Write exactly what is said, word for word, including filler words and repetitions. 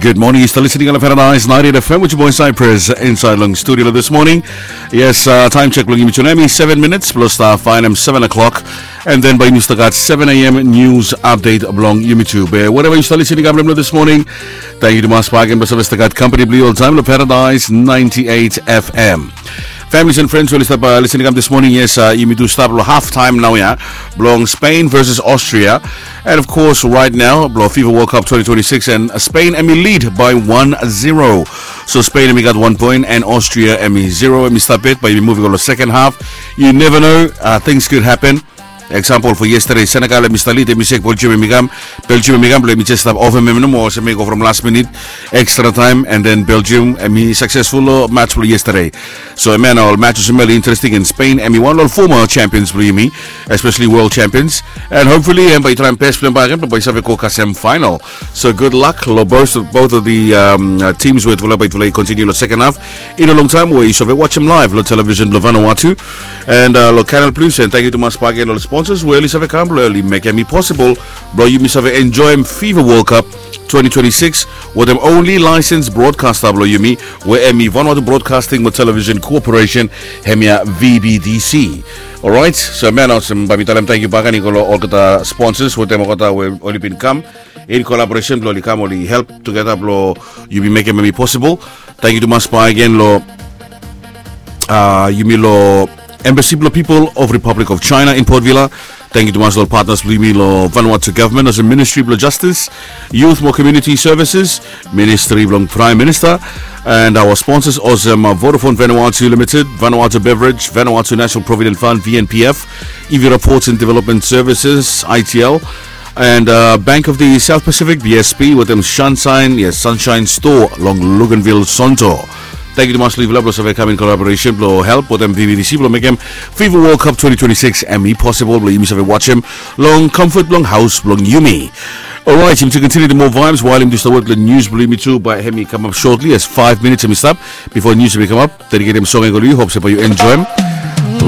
Good morning, yu stap listening long Paradise ninety-eight F M with your boy Cyprus inside long studio this morning. Yes, uh, time check long yumi tu nau hemi seven minutes plus the fine and seven o'clock. And then by news the got seven a.m. news update along YouTube. Uh, wherever yu stap listening long this morning, thank you to Mas Parkin, Pacific the got company blue all time, long Paradise ninety-eight F M. Families and friends, we stap uh, listening up this morning. Yes, uh, yumi tu stap long half time nau ya, blong Spain versus Austria. And of course, right now, blong FIFA World Cup twenty twenty-six, and Spain hemi lead by one zero. So Spain hemi got one point, and Austria hemi zero, hemi stap it, but hemi moving on the second half. You never know, uh, things could happen. Example for yesterday, Senegal hemi stap lead, hemi sek Belgium hemi kam, Belgium hemi kam, blong hemi just stap ofem hem nomo, olsem hemi go from last minute, extra time, and then Belgium hemi successful long match blong yesterday. So hemia nao ol match olsem hemia oli interesting, and Spain hemi wan long ol former champions blong yumi, especially world champions. And hopefully hemi bae i traem best blong hem bakegen blong bae i save go kasem final. So good luck long both, both of the um, uh, teams we yutufala bae yutufala i continue long second half. I no longtaem we yu save wajem live long television blong Vanuatu and uh, long Canal Plus, and thank you to Mas bakegen long ol sponsors we oli save kam blong oli mekem hemi possible blong yumi save enjoem FIFA World Cup twenty twenty-six wetem only licensed broadcaster blong yumi, we hemi Vanuatu Broadcasting mo Television Corporation, hemia V B T C. Alright, so hemia nao olsem bae mi talem tangkiu bakegen i go long olgeta sponsors wetem olgeta we oli bin kam in collaboration blong oli kam oli help tugeta blong yumi mekem hemi possible. Tangkiu tumas bakegen long uh, yumi long Embassy blong People of Republic of China in Port Vila. Tangkiu tumas long ol partners blong yumi long Vanuatu Government, olsem Ministry blong Justice, Youth mo Community Services, Ministry blong Prime Minister, and our sponsors olsem uh, Vodafone Vanuatu Limited, Vanuatu Beverage, Vanuatu National Provident Fund, V N P F, Evira Ports and Development Services, I T L, and uh, Bank of the South Pacific, B S P, wetem Sunshine, yes, Sunshine Store long Luganville, Sonto. Tangkiu tumas long yufala blong save kam in collaboration blong help wetem V B T C blong mekem FIFA World Cup twenty twenty-six hemi possible blong yumi save wajem long comfort blong haos blong yumi. Alright, yumi tu continue the more vibes while yumi tu stap wet long news blong yumi tu, bae hemi kamap shortly, as five minutes hemi stap before news hemi kamap. Dediketem song ya go long yu, hope se bae yu enjoem.